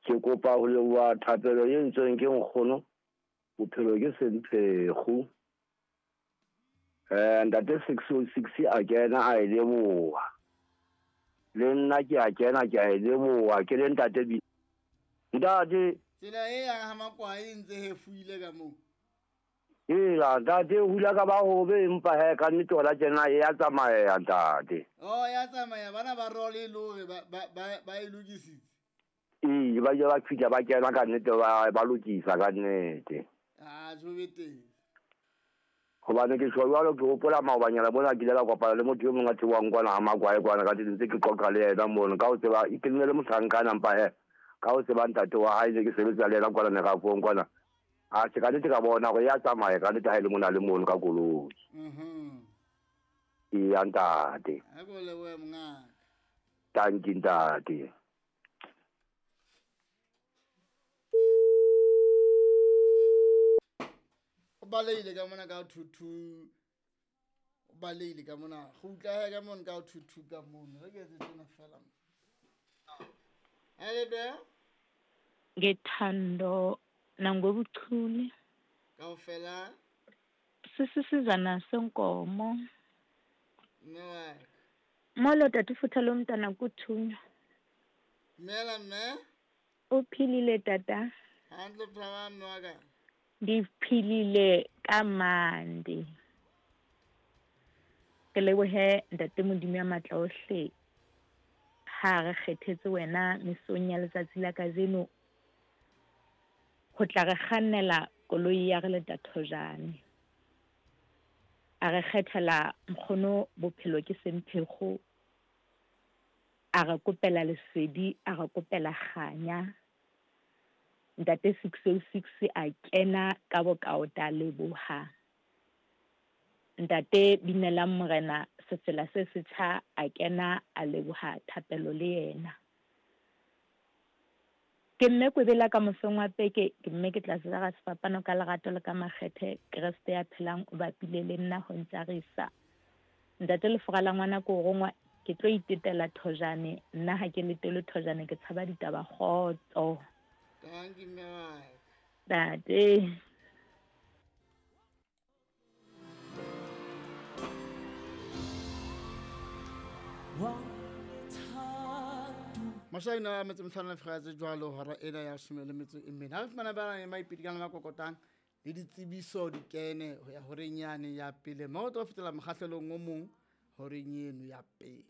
Ke kopa ho leboha thapelo e entsweng ke nkgono, bophelo ke semphekgo. Ntate 606 a kena a e leboha. Le nna ke a kena ke a e leboha ke le ntate bi. Ntate tsela e yang ha Makwai e ntse hefuile ka moo. Ela ntate hula ka ba hobe empa he ka nnete hona tjena e ya tsamaya ntate. Oh ya tsamaya bana ba role e le hore ba ba ba e lokisitse. Ee ba ile ba fihla ba kena ka nnete ba ba lokisa ka nnete. Ah jo be teng. Hobane ke tjho jwalo ke hopola maobanyana mona ke ile ka kopana le motho e mong a theohang kwana ha Makwae kwana ka ntse ke qoqa le yena mono ka ho tseba ke ne le mohlankana empa he ka ho tseba ntate wa hae ne ke sebetsa le yena kwana merafong kwana. A se ka nnete ka bona hore ya tsamaya ka nnete ha e le mona le mono ka koloi. Eya ntate. Ha ko lebohe mongaka. Tanki ntate. O balehile ka mona ka 22. O balehile ka mona. Kgutla he ka mona ka 22 ka mona. Re ke etse tjena fela. Hele Ngethando nangobuchule. Kaofela. Sisisizana senkomo. Mme wa ka. Molo tata futha lomntana kuthunywa. Dumela mme. Uphilile tata? Hantle phela mme wa ka. Ndiphilile kamandi. Ke lebohe ntate Modimo ya matla ohle ha re kgethetse wena mesong ya letsatsi la kajeno ho tla re kgannela koloi ya re leta thojane. A re kgethela nkgono bophelo ke semphekgo, a re kopela lesedi, a re kopela kganya. Ntate 606 a kena ka bokaota leboha. Ntate Binelang Morena sefela se setjha a kena a leboha thapelo le yena. Ke mme Kwebela ka mosong wa peke, ke mme ke tla jara sefapano ka lerato le ka makgethe, Kreste ya phelang o bapile le nna ho ntjarisa. Ntate lefora la ngwana ko rongwa, ke tlo itetela thojane, nna ha ke letele thojane ke tshaba ditaba kgotso. Tanki mme wa ka. Ntate. Mashaina a metso metlhano le fega tse jwalo hora ena ya 14. Ha re fumana ba ya maipidi ka la kokotang le ditsebiso di kene ho ya horeng yane ya pele. Mo tlo fetela mokgahlelong o mong horeng eno ya pele.